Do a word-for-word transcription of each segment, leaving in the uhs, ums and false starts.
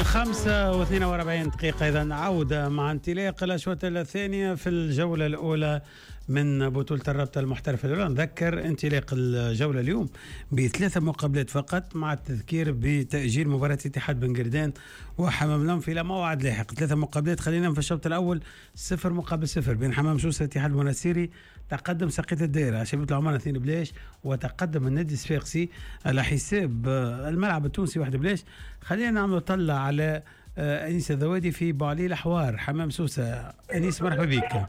الخمسة واثنين وأربعين دقيقة. إذا عودة مع انطلاق الأشواط الثانية في الجولة الأولى من بطولة الرابطة المحترفة الأولى. نذكر انطلاق الجولة اليوم بثلاثة مقابلات فقط، مع التذكير بتأجيل مباراة اتحاد بن قردان وحمام لنف إلى موعد لاحق. ثلاثة مقابلات، خلينا في الشوط الأول صفر مقابل صفر بين حمام سوسة اتحاد المنستيري. تقدم سقية الدائرة شبيبة العمان اثنين بلاش، وتقدم النادي الصفاقسي على حساب الملعب التونسي واحد بلاش. خلينا نعمل طلع على أنيس الذوادي في بوعلي الأحوار حمام سوسة. أنيس مرحبا بك.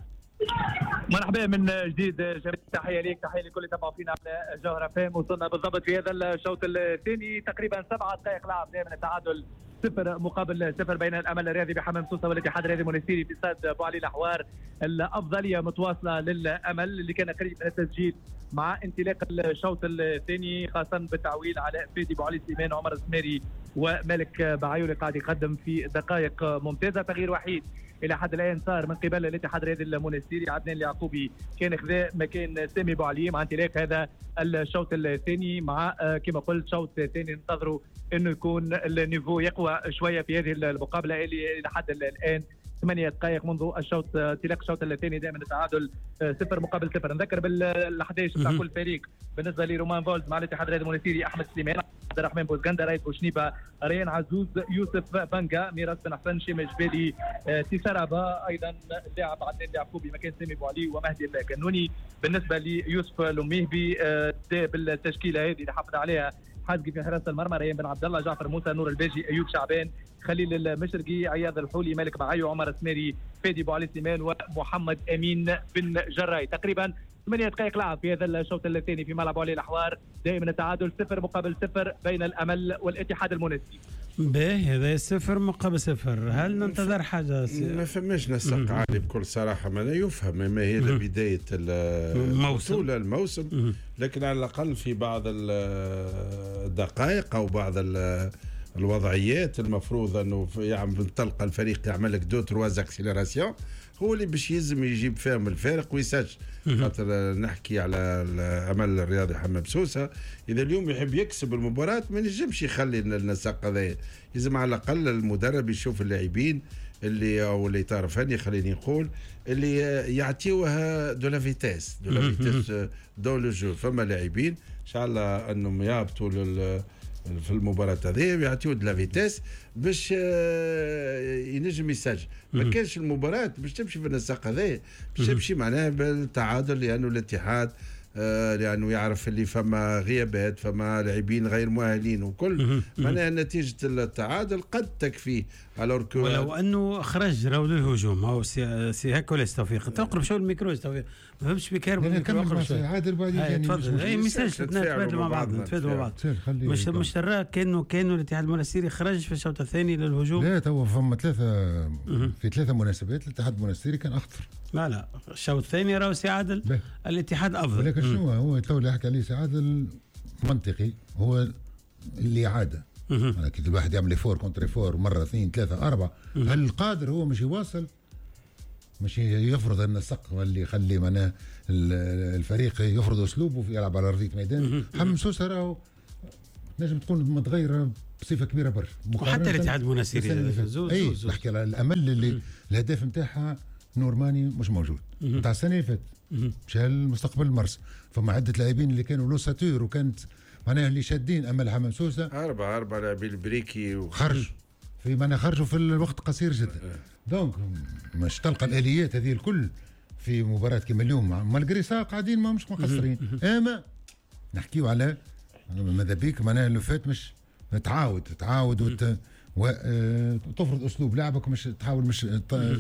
مرحبا من جديد جميل، تحية ليك، تحية لكل اللي تابعوا فينا على جوهرة فام. وصلنا بالضبط في هذا الشوط الثاني تقريبا سبعة دقائق لعب دائما التعادل صفر مقابل صفر بين الامل الرياضي بحمام سوسة والاتحاد الرياضي المونستيري في استاد بوعلي الاحوار. الافضلية متواصلة للامل اللي كان قريب من التسجيل مع انطلاق الشوط الثاني، خاصة بالتعويل على فادي بوعلي سليمان، عمر السماري ومالك بعيو اللي قاعد يقدم في دقائق ممتازة. تغيير وحيد الى حد الان صار من قبل الاتحاد الرياضي المونستيري، عدنان اليعقوبي كان خذا مكان سامي بوعلي مع انطلاق هذا الشوط الثاني. مع كما قلت شوط ثاني ننتظروا انه يكون ال niveau يقوى شوية في هذه المقابلة اللي الى حد الان ثمانية دقائق منذ الشوط انطلاق الشوط الثاني دائما التعادل صفر مقابل صفر. نذكر بال أحد عشر بتاع كل فريق. بالنسبة لرومان فولز مع الاتحاد الرياضي المونستيري احمد سليمان، عبد الرحمن بوزغندا، رايد بوشنيبه، ريان عزوز، يوسف بانجا، ميراث بن حسن، شيما جبالي، تيسارابا، ايضا اللاعب عدنان اليعقوبي مكان سامي بوعلي ومهدي الكنوني. بالنسبة ليوسف لميهبي بالتشكيله هذه اللي حافظ عليها حازقي في حراسة المرمى، ريان بن عبد الله، جعفر موسى، نور الباجي، ايوب شعبان، خليل المشرقي، عياض الحولي، مالك بعيو، عمر السماري، فادي بوعلي سليمان، ومحمد امين بن جراي. تقريبا ثمانية دقائق لعب في هذا الشوط الثاني في ملعب علي الاحوار، دائما التعادل صفر مقابل صفر بين الامل والاتحاد المونستيري. باهي، هذا صفر مقابل صفر. هل ننتظر حاجة؟ ما فماش نسق عالي بكل صراحة، ما لا يفهم ما هي بداية الموسم الموسم، لكن على الاقل في بعض الدقائق او بعض الوضعيات المفروض انه يعمل تلقى الفريق يعمل لك deux trois accélérations، هو اللي باش يلزم يجيب فيهم الفارق ويسجل. خاطر نحكي على الامل الرياضي حمام سوسة، اذا اليوم يحب يكسب المباراة ما ينجمش يخلي النسق هذا، لازم على الاقل المدرب يشوف اللاعبين اللي او اللي تعرف فني خليني نقول اللي يعطيوها de la vitesse de la vitesse dans le jeu. فما لاعبين ان شاء الله انهم يهبطوا لل في المباراة هذه ويعطيو de la vitesse باش ينجم يسجل. ما كانش المباراة باش تمشي في النسق هذا، باش تمشي معناها بالتعادل، لأنه الاتحاد آه لأنه يعرف اللي فما غيابات، فما لاعبين غير مؤهلين وكل، معناها نتيجة التعادل قد تكفي. ولو أنه خرج راهو للهجوم، هو سي, سي هكا ولا توفيق؟ تقرب شو الميكرو توفيق، ما فهمتش بك الميكرو، اقرب شوي عادل بعد. تفضل. اي message نتبادلوا مع بعض، نتفادلوا مع بعض. مش مش ترى كانه كانه الاتحاد المونستيري خرج في الشوط الثاني للهجوم؟ لا، تو فما ثلاثة في ثلاثة مناسبات الاتحاد المونستيري كان أخطر. لا لا، الشوط الثاني راهو سي عادل الاتحاد أفضل. ولكن شنو هو تو اللي حكى عليه سي عادل منطقي، هو اللي عادة كي الواحد يعمل effort contre effort مرة اثنين ثلاثة أربعة، هل قادر هو مش يواصل، مش يفرض النسق واللي يخلي معناه الفريق يفرض أسلوبه في يلعب على أرضية ميدان. حمام سوسة راهو تنجم تكون متغيرة بصفة كبيرة برشا، وحتى الاتحاد المونستيري زوز زوز. نحكي على الأمل اللي الهدف نتاعها نورماني مش موجود نتاع السنة اللي فاتت، مشى المستقبل المرسى. فما عده لاعبين اللي كانوا l'ossature وكانت معناها اللي شادين امل حمام سوسة، اربعة اربعة لاعبين البريكي وخرج في معناها خرجوا في الوقت قصير جدا. donc مش تلقى الاليات هذه الكل في مباراة كيما اليوم، malgré ça قاعدين ما مش مقصرين. اما نحكيو على ماذا بيك معناها اللي فات مش تعاود تعاود وت... وتفرض اسلوب لعبك، مش تحاول مش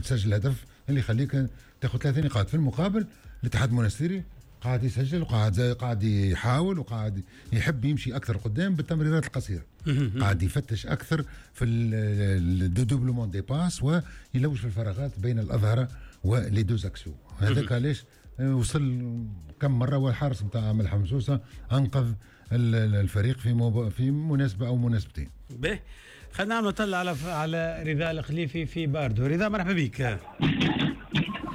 تسجل هدف اللي يخليك تاخذ ثلاث نقاط. في المقابل الاتحاد المونستيري قاعد يسجل وقاعد قاعد يحاول وقاعد يحب يمشي اكثر قدام بالتمريرات القصيرة، قاعد يفتش اكثر في ال dédoublement des passes ويلوج في الفراغات بين الاظهرة و les deux axiaux. هذاك علاش وصل كم مرة والحارس نتاع امل حمام سوسة انقذ الفريق في مب... في مناسبة او مناسبتين. به خلينا نعمل طلع على على رضا الخليفي في باردو. رضا مرحبا بك.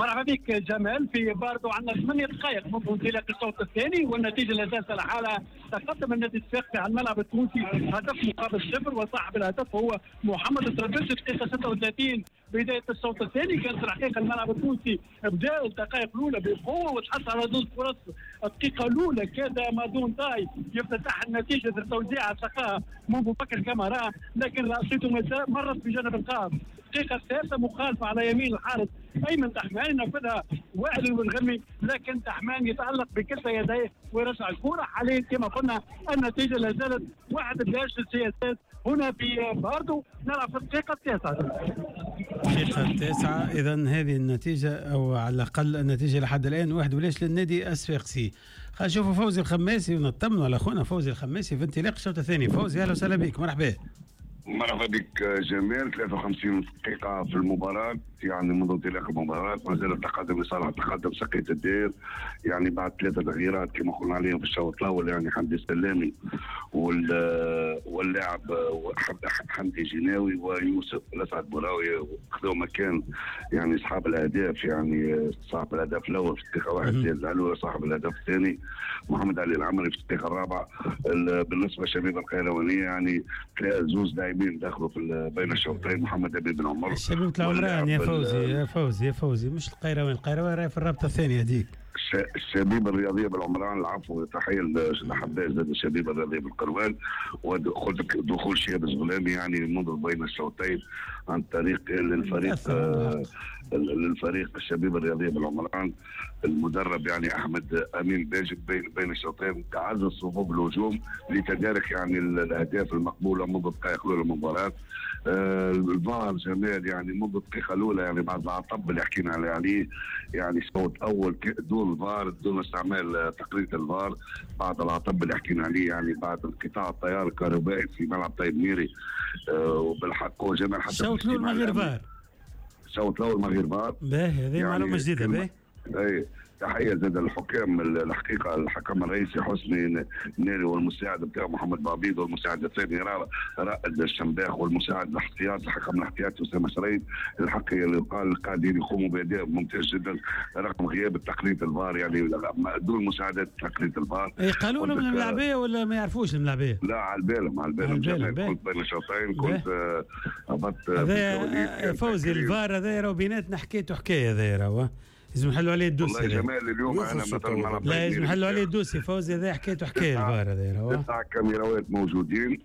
مرحبا بك جمال. في باردو عندنا ثمانية دقائق منذ انطلاق الشوط الثاني والنتيجة لا زالت على حالها. تقدم النادي الصفاقسي على الملعب التونسي هدف مقابل صفر، وصاحب الهدف هو محمد الطرابلسي. دقيقة ستة وثلاثين بداية الشوط الثاني. كانت الحقيقة الملعب التونسي بدا الدقائق الاولى بقوة وتحصل على زوج فرص. الدقيقة الاولى كاد مادون تاي يفتتح النتيجة بالتوزيع تلقاها منذ بكر كاميرا، لكن راسيته مرت بجانب القائم. الدقيقة الثالثة مخالفة على يمين الحارس ايمن دحمان، نفذها وائل الغمي، لكن دحمان يتالق بكلتا يديه ويرجع الكره. حاليا كما قلنا النتيجة لا زالت واحد بلاش للسياسات هنا في باردو. نلعب في الدقيقة التاسعة. الدقيقة التاسعة، اذا هذه النتيجة او على الاقل النتيجة لحد الان واحد بلاش للنادي الصفاقسي. خلينا نشوفوا فوزي الخماسي ونطمنوا على اخونا فوزي الخماسي في انطلاق الشوط الثاني. فوزي اهلا وسهلا بك، مرحبا. مرحبا بك جمال. ثلاثة وخمسين دقيقة في المباراة، يعني منذ انطلاق المباراة ما زال التقدم لصالح تقدم سقية الدير، يعني بعد ثلاثة تغييرات كما قلنا عليهم في الشوط الأول، يعني حمدي السلامي واللاعب حمدي جناوي ويوسف الأسعد بوراوي خذوا مكان يعني أصحاب الأهداف، يعني صاحب الهدف الأول في الدقيقة واحد زياد العلوي، صاحب الهدف الثاني محمد علي العمري في الدقيقة الرابعة. بالنسبة للشبيبة القيروانية يعني زوز لاعبين دخلوا في بين الشوطين، محمد أبي بن عمر. الشبيبة العمران يا فوزي يا فوزي يا فوزي، مش القيروان، القيروان راهي في الرابطة الثانية هذيك. الشبيبة الرياضية بالعمران، العفو، تحية لحباز زاد الشبيبة الرياضية بالقروان، ودخول شهاب الزغلامي يعني منذ بين الشوطين عن طريق للفريق آه للفريق الشبيبة الرياضية بالعمران، المدرب يعني احمد امين باجد بين بين الشوطين تعزز صفوف الهجوم لتدارك يعني الاهداف المقبولة منذ الدقائق الاولى للمباراة. آه الفار جمال يعني منذ الدقيقة الاولى، يعني بعد العطب اللي حكينا عليه، يعني شوط اول دون الفار، دون استعمال تقنية الفار، بعد العطب اللي حكينا عليه يعني بعد انقطاع التيار الكهربائي في ملعب طيب ميري. آه وبالحق هو جمال حتى الشوط الاول من غير فار، الشوط الاول من غير فار. باهي، هذه يعني معلومة جديدة. باهي، اي تحية زاد الحكام، الحقيقة الحكم الرئيسي حسني ناري والمساعد بتاعه محمد بعبيد والمساعد الثاني رائد الشمباخ والمساعد الاحتياط الحكم الاحتياطي اسامة شريف. الحق اللي قال قاعدين يقوموا باداء ممتاز جدا رغم غياب تقنية الفار، يعني دون مساعدة تقنية الفار. اي قالوا لهم الملاعبيه ولا ما يعرفوش الملاعبيه؟ لا، على بالهم على بالهم. كنت بين الشوطين كنت هبطت هذا فوزي الفار هذا راهو بيناتنا حكايته حكاية هذا راهو لازم نحلوا عليه ال dossier. والله جمال اليوم انا مثلا لا لازم نحلوا عليه ال dossier فوزي، هذا حكايته حكاية الفار هذا. تسع كاميراوات موجودين،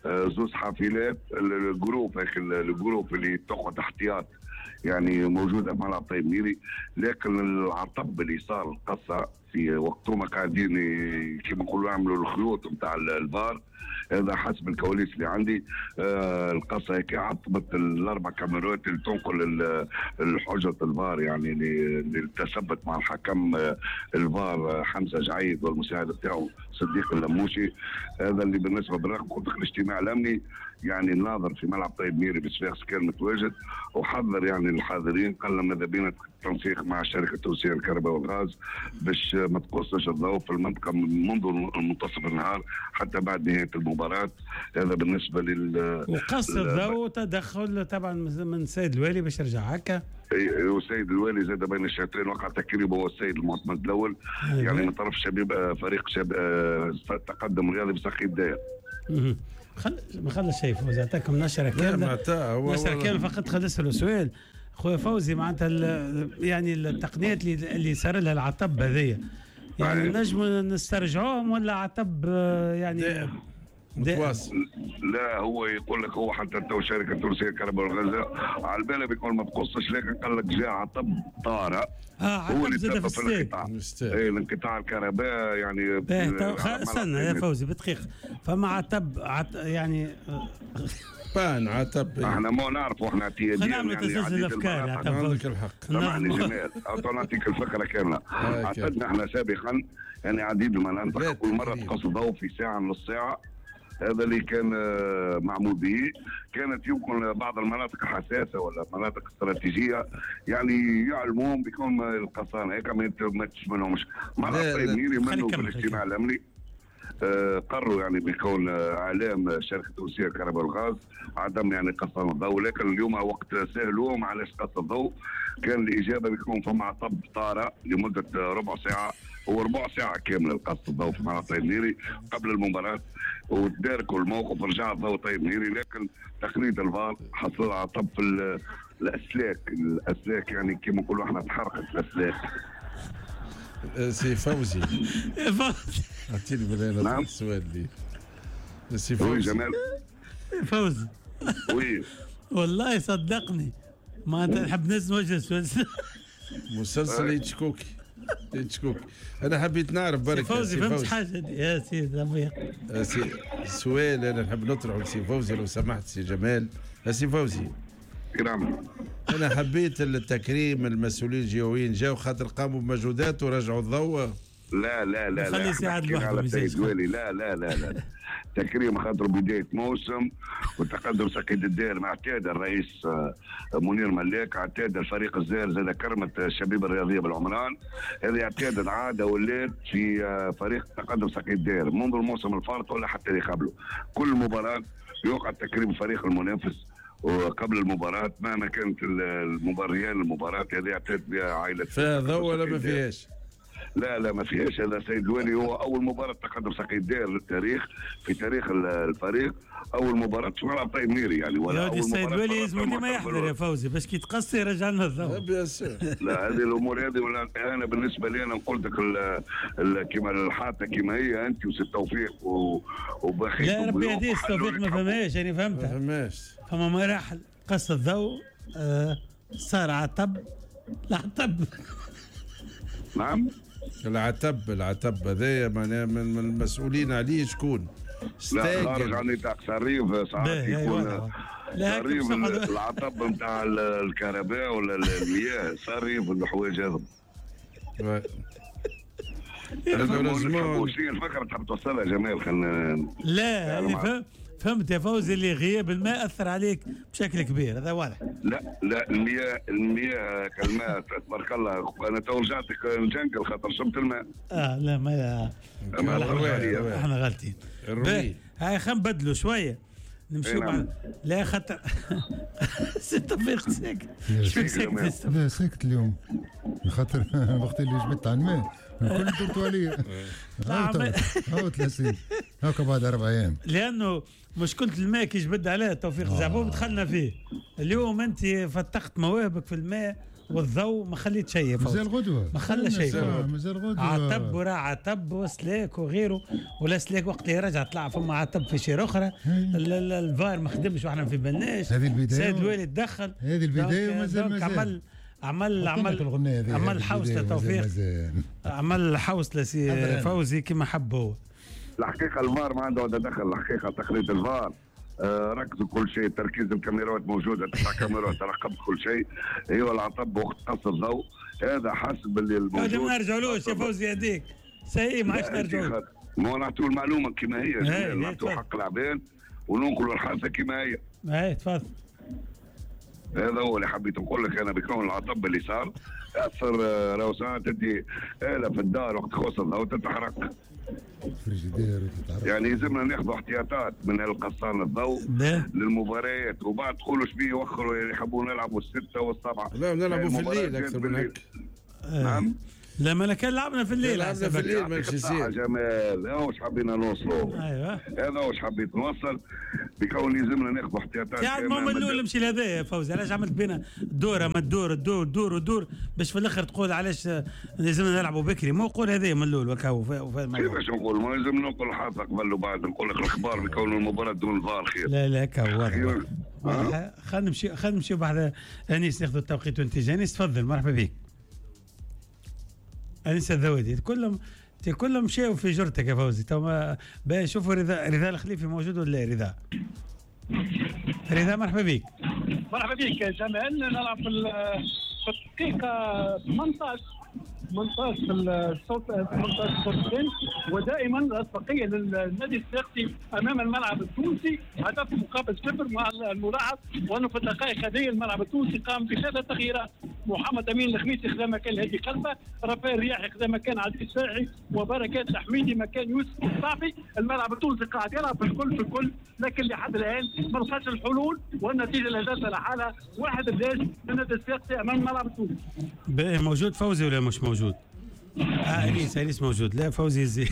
زوز حافلات، ال groupe ال groupe اللي تاخذ احتياط يعني موجودة في ملعب طيب ميري، لكن العطب اللي صار القصة في وقتهم قاعدين كيما نقولوا يعملوا الخيوط نتاع الفار، هذا حسب الكواليس اللي عندي. آه القصة هيك عطبت الاربع كاميرات اللي تنقل الحجة الفار، يعني للتثبت مع الحكم الفار حمزة جعيد والمساعد بتاعه صديق اللموشي. هذا اللي بالنسبة بالرغم قلت لك الاجتماع الامني يعني الناظر في ملعب طيب ميري بصفاقس كان متواجد وحذر يعني الحاضرين، قال لهم ماذا بينا التنسيق مع شركة توزيع الكهرباء والغاز باش ما تقصش الضوء في المنطقة منذ منتصف النهار حتى بعد نهاية المباراة. هذا بالنسبة لل وقص الضوء تدخل طبعا من السيد الوالي باش يرجع هكا. والسيد الوالي زاد بين الشوطين وقع تكريمه هو السيد المعتمد الاول يعني من طرف شبيب فريق شب تقدم رياضي بساقي الداير. خل ما خلص شيء فوزي، اعطاكم نشره كاملة نشره كاملة فقط. خلينا نسالوا سؤال خويا فوزي، معناتها يعني التقنيات اللي اللي صار لها العطب هذيا يعني نجموا نسترجعوهم ولا عطب يعني متواصل؟ لا هو يقول لك هو حتى تو شركة تونسية الكهرباء والغاز على بالها بيكون ما تقصش، لكن قال لك جاء عطب طارئ. اه هو اللي سبب في الانقطاع، اي الانقطاع الكهرباء يعني. استنى يا فوزي بدقيقة، فما عطب عط يعني بان عطب احنا ما نعرفوا احنا اعتياديا خلينا نعملوا تسلسل الافكار. عندك الحق، سامحني جمال نعطيك الفكرة كاملة. اعتدنا احنا سابقا يعني عديد المناطق كل مرة تقص الضوء في ساعة نص ساعة، هذا اللي كان معمول به. كانت يمكن بعض المناطق الحساسة ولا مناطق استراتيجية يعني يعلمون بكون القصان هيك ما تشملهمش. ملعب طيب ميري منه في الاجتماع الامني قرروا يعني بكون اعلام شركة التونسية للكهرباء والغاز عدم يعني قص الضوء، لكن اليوم وقت سالوهم علاش قص الضوء كان الاجابة بيكون فما عطب طارئ لمدة ربع ساعة، هو ربع ساعة كاملة قص الضوء في ملعب طيب مهيري قبل المباراة، وتداركوا الموقف رجع الضوء طيب مهيري، لكن تقنية الفار حصل عطب في الاسلاك، الاسلاك يعني كما نقولوا احنا تحرقت الاسلاك. سي فوزي فوزي اعطيني بالله نعم. السؤال لي سي oui فوزي. جمال فوزي oui والله صدقني ما انت نحب نسمع السؤال. مسلسل هيتشكوك هيتشكوك انا حبيت نعرف برك فوزي سي فهمت حاجة يا سيدي رفيق. سي سؤال انا نحب نطرحه لسي فوزي لو سمحت سي جمال. سي فوزي نعم. انا حبيت التكريم المسؤولين الجهويين جاوا خاطر قاموا بمجهودات ورجعوا الضوء. لا لا لا خلي لا سعد احنا حكينا لوحده على ميزاج. السيد والي. لا لا لا لا تكريم خاطر بداية موسم وتقدم سقيد الدائر مع اعتاد الرئيس منير ملاك، اعتاد الفريق الزاهر زاد كرمت الشبيبة الرياضية بالعمران، هذه اعتادت عادة ولات في فريق تقدم سقيد الدائر منذ الموسم الفارط ولا حتى اللي قبله، كل مباراة يوقع تكريم فريق المنافس وقبل المباراة مهما كانت المباريان المباراة هذه اعتاد بها عائلة فيها ضوء ولا ما فيهاش؟ لا لا ما فيهاش. هذا سيد الوالي هو اول مباراة تقدم سقي الدائر للتاريخ في تاريخ الفريق، اول مباراة في ملعب طيب مهيري يعني، ولا يا ودي اول السيد مباراة الوالي لازم ديما يحضر يا فوزي باش كي تقصي يرجع لنا الضوء. bien sûr. لا هذه الامور هذه ولا انا بالنسبة لي انا قلت لك كيما الحاطه كيما هي انت وسي التوفيق وبخيت. لا ربي يهديه التوفيق ما فهمهاش، انا فهمتها ما فهمهاش. فما مراحل قص الضوء آه صار عطب العطب. نعم العتب العتب هذايا معناها من المسؤولين عليه شكون؟ لا خارج عن نطاق صريف ساعات يكون صريف العطب نتاع الكهرباء ولا المياه صريف الحوايج هذم. شنو الفكرة تحب توصلها جمال؟ خلينا لا اللي فهمت يا فوزي اللي غياب الماء اثر عليك بشكل كبير، هذا واضح. لا لا المياه المياه كالماء تبارك الله، انا تو رجعت الجنجل خاطر شربت الماء. اه لا ما احنا غالطين. هاي خلينا نبدلوا شوية نمشيو مع لا خاطر سي توفيق ساكت. شو ساكت؟ لا ساكت اليوم خاطر وقت اللي جبت على الماء الكل درتوا عليا. هاو ثلاثين هاكا بعد اربع ايام، لانه مشكلة الماء كي جبد عليها توفيق زعبوب دخلنا فيه. اليوم انت فتقت مواهبك في الماء والضوء ما خليت شيء، مازال غدوه ما خلى شيء، مازال غدوه عتب وراه عتب وسلاك وغيره، ولا سلاك وقت اللي رجع طلع فما عتب في شير اخرى، الفار ما خدمش واحنا في بالناش. هذه البداية سيد الوالي تدخل، هذه البداية ومازال مازال عمل عمل عمل عمل حوصله توفيق، عمل حوصله سي فوزي كما حب هو. الحقيقة الفار ما عنده دخل، الحقيقة تقنية الفار آه ركزوا كل شيء، تركيز الكاميرات موجودة، تسع كاميرات راقبت كل شيء. ايوه العطب وقت قص الضوء هذا حسب اللي الموجود. ما نرجعولوش يا فوزي هذيك سي ما عادش نرجعوا، ما نعطيو المعلومة كما هي، نعطيو حق العباد وننقلوا الحادثة كما هي. اي تفضل. هذا هو اللي حبيت نقول لك انا، بكون العطب اللي صار اثر راهو ساعات تدي آلة في الدار وقت خص الضوء تتحرق. يعني يلزمنا ناخذ احتياطات من القصان الضوء للمباريات، وبعد تقولوا شبيه يوخروا يعني يحبوا نلعبوا الستة والسبعة. لا نلعبوا في الليل أكثر من هيك. نعم لا ما كان لعبنا في الليل، لعبنا في الليل ماشي يصير. جمال هذا واش حبينا نوصلوا. ايوه هذا واش حبيت نوصل، بكون يلزمنا ناخذ احتياطات. يعني المهم الاول نمشي لهذا يا فوزي، علاش عملت بينا دوره ما تدور تدور تدور وتدور باش في الاخر تقول علاش لازمنا نلعبوا بكري؟ مو قول هذا من الاول وكاو. كيفاش نقول؟ ما لازم نقول حاطه قبل وبعد، نقول لك الاخبار بكون المباراة دون الفار خير. لا لا كاو واضح. خلينا نمشي خلينا نمشيو بعد انيس ناخذ التوقيت وانت انيس تفضل. مرحبا بك أنيس الذوادي. كلهم كلهم مشاو في جرتك يا فوزي. تو باش شوفوا رضا رضا الخليفي موجود ولا رضا؟ رضا مرحبا بك. مرحبا بك جمال. نلعب في الدقيقة ثمانية عشر ثمانية عشر في الشوط ثمانية عشر الشوط الثاني، ودائما الاسبقيه للنادي الصفاقسي امام الملعب التونسي هدف مقابل صفر مع الملاحظ وانه في الدقائق هذه الملعب التونسي قام بثلاث تغييرات، محمد امين الخميسي خذا مكان هادي قلبه، رافائيل رياحي خذا مكان عزيز الشافعي، وبركات الحميدي مكان يوسف الصافي. الملعب التونسي قاعد يلعب في الكل في الكل، لكن لحد الان ما لقاش الحلول، والنتيجة لا زالت على حالها واحد بلاش للنادي الصفاقسي امام الملعب التونسي. موجود فوزي ولا مش موجود؟ آه انيس انيس موجود. لا فوزي زي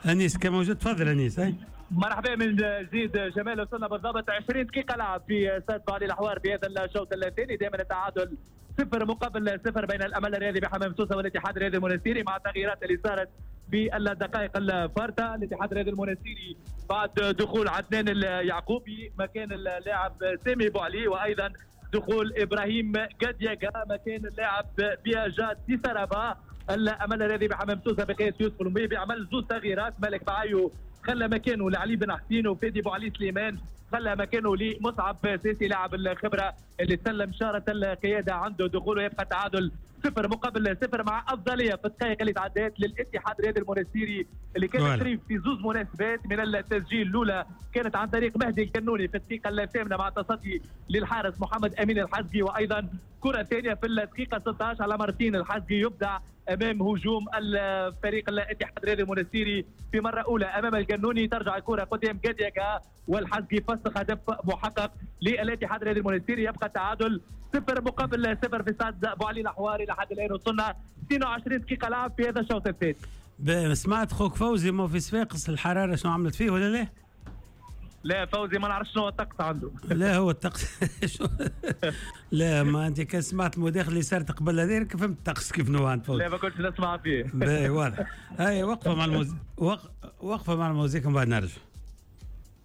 انيس كان موجود، تفضل انيس. هاي مرحبا من جديد جمال، وصلنا بالضبط عشرين دقيقة لعب في استاد بوعلي الحوار في هذا الشوط الثاني، دائما التعادل صفر مقابل صفر بين الأمل الرياضي بحمام سوسة والاتحاد الرياضي المونستيري، مع التغييرات اللي صارت في الدقائق الفارطة. الاتحاد الرياضي المونستيري بعد دخول عدنان اليعقوبي مكان اللاعب سامي بوعلي، وأيضا دخول إبراهيم قدياغا مكان اللاعب بياجات سيسارابا. الأمل الرياضي بحمام سوسة بقيادة يوسف المبيبي عمل زوج تغييرات، مالك بعيو خلى مكانه لعلي بن حسين، وفادي بوعلي سليمان خلى مكانه لمصعب سيسي لاعب الخبرة اللي سلم شارة القيادة عنده دخوله. يبقى تعادل صفر مقابل صفر مع افضلية في الدقائق اللي تعدات للاتحاد الرياضي المونستيري اللي كان قريب في زوز مناسبات من التسجيل. الاولى كانت عن طريق مهدي الكنوني في الدقيقة الثامنة مع تصدي للحارس محمد امين الحزقي، وايضا كره ثانية في الدقيقة ستة عشر على مارتين الحزقي يبدع امام هجوم الفريق الاتحاد الرياضي المونستيري في مرة اولى امام القنوني، ترجع الكره قدام جادياكا والحزقي فسخ هدف محقق للاتحاد الرياضي المونستيري. يبقى تعادل صفر مقابل صفر في استاد بوعلي الحواري لحد الان، وصلنا اثنين وعشرين دقيقة لعب في هذا الشوط الثاني. سمعت خوك فوزي ما في صفاقس الحرارة شنو عملت فيه ولا لا؟ لا فوزي ما نعرفش شنو الطقس عنده. لا هو الطقس لا ما انت كان سمعت المداخلة اللي صارت قبل هذيك فهمت الطقس كيف نوع عند فوزي. لا ما كنتش نسمع فيه. باهي واضح. هاي وقفه مع الموز... وقفه مع الموزيك ومن بعد نرجع.